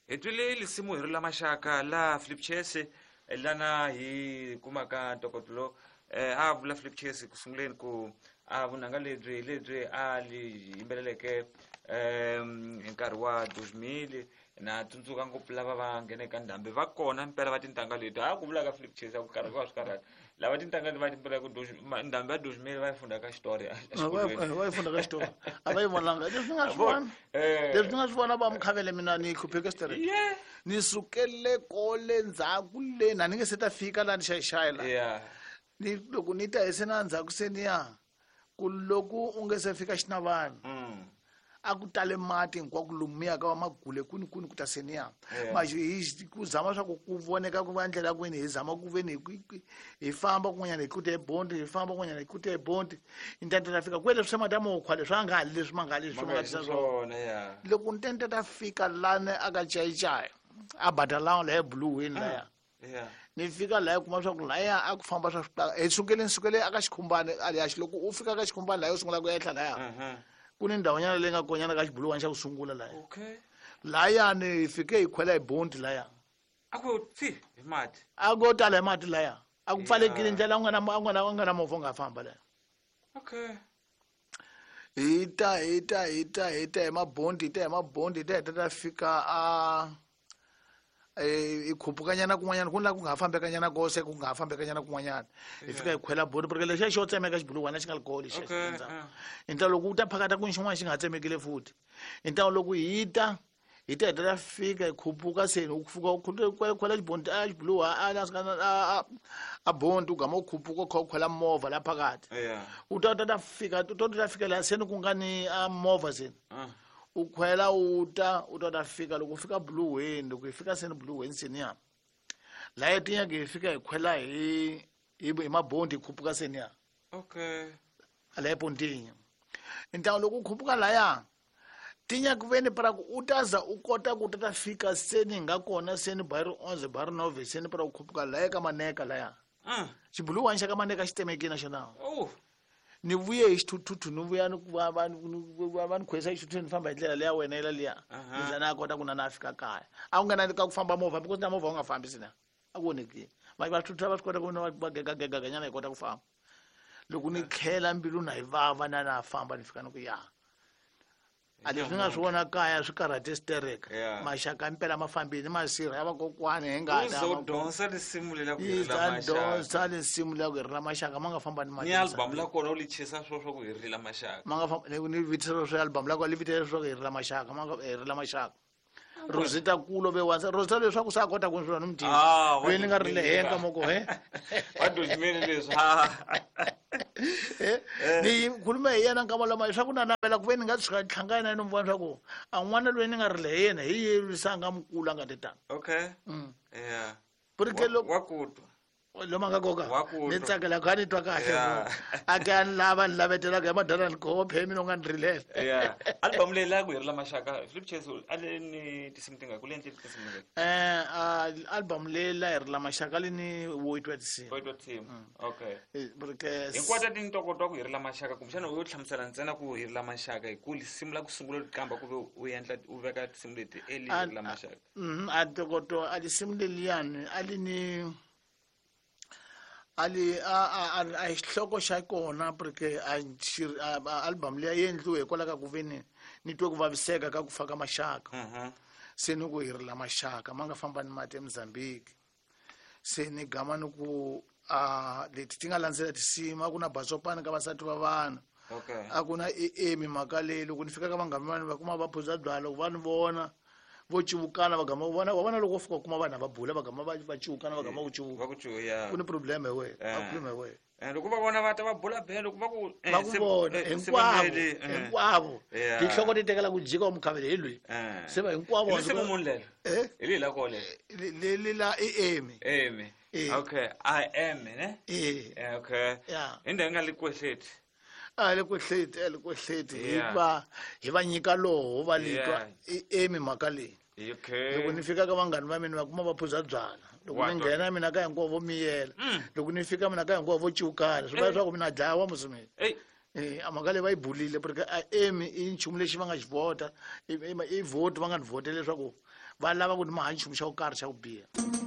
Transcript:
Hi twile lisimu hi ri la maxaka la Philip Chase, lana hi kumaka ntokoto lowu. A vula Philip Chase ku sunguleni ku a vunanga lebyi lebyi a li yimbeleleke hi nkarhi wa 2000. Na tsundzuka ngopfu lava va ngheneke ka ndhambi va kona mpela va tintangha leti a ku vulaka Philip Chase a ku karhi va swi karhata lava tintangha leti va timbelaka ndhambi ya 2000 va yi funda ka xitori a xikolweni. Va yi funda ka xitori, a va yi vonanga leswi nga swi vona. Leswi ni nga swi vona va mukhavele mina ni hlupheke xitere. Ni sukele kole ndzhaku le na ni nge se ta fika laha ni xayixayi la. Ni loko ni ta hi se na ndzhaku se ni ya ku loko u nge se fika xinavana. A ku tale mati hinkwako lomuya ka va magule kwini kwini ku ta se ni ya. Manje hi ku zama swa ku ku voneka ku va ndlela kwini hi zama ku veni hi famba kun'wanyana hi tlute hi bondi, hi famba kun'wanyana hi tlute hi bondi. Hi ta ta fika kwele swa mati mukhwa leswi a nga ha leswi ma nga ha leswi ma nga tisa swona. Loko ni ta ta fika lani a ka cayicayi a badala laha buluweni laya. Ni fika laha kuma swa ku laya a ku famba swa swi hi sukele ni sukele aka xikhumbani a ya loko u fika ka xikhumbani laya u sungula ku ehla laya. Ku ni ndhawunyana leyi nga konyana ka xibuluwani xa ku sungula laya. Layani hi fike hi khwela hi bondi laya. A ku tsi hi mati. A ku tala hi mati laya. A ku pfalekile ndlela u nga na movha u nga famba laya. Hi ta, hi ta, hi ta, hi ta hi mabondi, hi ta hi mabondi, hi ta hi ta ta fika a hi khupukanyana kun'wanyana ku na ku nga ha fambekanyana kose ku nga ha fambekanyana kun'wanyana. Hi fika hi khwela bondi porque lexiya xo tsemeka xibuluwana xi nga ri kona lexiya xi endzhaku. Hi ntlawa loko u ta phakata ku xin'wana xi nga ha tsemekile futhi. Hi ntlawa loko hi ta, hi ta hi ta fika hi khupuka se u fika u khwela xibondi, a xibuluwa, a, a, a, a, a bondi u gama u khupuka u kha u khwela movha la phakathi. U ta, ta, ta fika, u ta, ta fika laha se ni ku nga ni, a movha se. U khwela u ta, u ta, ta fika loko u fika buluweni, loko hi fika se ni buluweni se ni ya. Laha tinyaka hi fika hi khwela hi mabondi hi khupuka se ni ya. Laha epontini. Ntlangu loko u khupuka laya, tinyaka veni para ku u ta za u kota ku ta ta fika se ni nga kona se ni ba ri 11 ba ri 9 se ni para ku khupuka laya ka maneka laya. Xibuluwani xa ka maneka xi temekile na xona. Ni vuye hi xithuthuthu, ni vuya ni ku va, va, ni, ni, va, va ni khwesa hi xithuthuthu, ni famba hi ndlela leya wena yela liya. Ni za na kota ku na na fika kaya. A ku nga na ka ku famba movha, because na movha wu nga fambi sina. A ku onhekile. Va, va thuthutha va swi kota ku va, va gega, gega, ganyana hi kota ku famba. Loko ni tlhela mbilu na yi vava na na famba ni fika ni ku ya. A leswi ni nga swi vona kaya swi karhate xitereka. Maxaka impela ma fambile, masirha ya vakokwani hi nga U ta zo va dyondza risimu leri ku Yi hirila za maxaka. dyondza risimu leri ku hirila maxaka, ma nga famba ni mati Ni album misaveni. la kona u li chisa swo swa ku hirila maxaka. Ma nga famba, ni, ni vitisa swo album la kona, li vitisa swo ku hirila maxaka, ma nga hirila maxaka. Rosita kulo ve wansa, Rosita leswaku sa kota ku swi ni mutini. Loyi ni nga ri le henhla moko, he? Va dozimele leswi, ha. Ni khulume hi yena nkama lama leswaku na navela ku ve ni nga tshuka ni hlangana na yena ni vona leswaku a n'wana loyi ni nga ri le hi yena hi ye lwisa nga mukulu a nga ti tani. Porque loko Wa ku twa. Lomu a nga koka? Wa ku Ni twa. tsakela ku a ni twa kahle, bro. A ke a ni lava, ni lavetela ku ya madala ni khopa, phela mina u nga ni rilela. Album leyi la ku hirila maxaka, Philip Chase, a le ni tinsimu tingaki? Ku le endleni tinsimu tingaki? Album leyi la hirila maxaka le ni wo twa tinsimu. Wo twa tinsimu. Porque Hinkwato ti ntokoto wa ku hirila maxaka, kumbexana u yo hlamusela ntsena ku hirila maxaka hi ku risimu la ku sungula ku qamba ku ve u endla u veka tinsimu leti early hirila maxaka. A ntokoto a risimu leliyani a li ni a li, a, a, a, a xihloko xa kona porque a xi, a, a, album leyi yi endliwe hikwalaho ka ku ve ni, ni twe ku vaviseka ka ku fa ka maxaka. Se ni ku hirila maxaka ma nga famba ni mati eMozambique. Se ni gama ni ku, a, leti ti nga landzela tinsimu, a ku na batsopani ka vasati va vanhu. A ku na e, e, mhaka leyi loko ni fika ka vanghana va mina va kuma va phuza byalwa, loko va ni vona vo civukana va gama vona, wa vona loko wo fika u kuma vanhu va bula va gama va civukana va gama ku civuka. Va ku civuka, ya. Ku ni problem hi wena, va khuluma hi wena. Loko va vona va ta va bula bele, loko va ku, Va ku vona, se hinkwavo, va mele, hinkwavo. Tinhloko ti tekela ku jika wa mukhavele hi loyi. Se va hinkwavo Hi va risimu swi muni lelo? Hi leyi la kona lelo? Le, le la i Emi. Emi. Okay, I am, ne? Okay. Hi ndhawu yi nga le Kwehleti. A le Kwehleti, a le Kwehleti. Hi va, hi va nyika loho, va li twa. I Emi mhaka leyi. Loko ni fika ka vanghana va mina va kuma va phuza byalwa. Loko ni Wa twa. nghena mina ka hinkwavo vo miyela. Loko ni fika mina ka hinkwavo vo civukana. Swi vula leswaku mina dlawa musi mina. A mhaka leyi va yi bulile porque a emi i nchumu lexi va nga xi vhota, i vote va nga ni vhotela leswaku va lava ku ni maha nchumu xa ku karhi xa ku biha.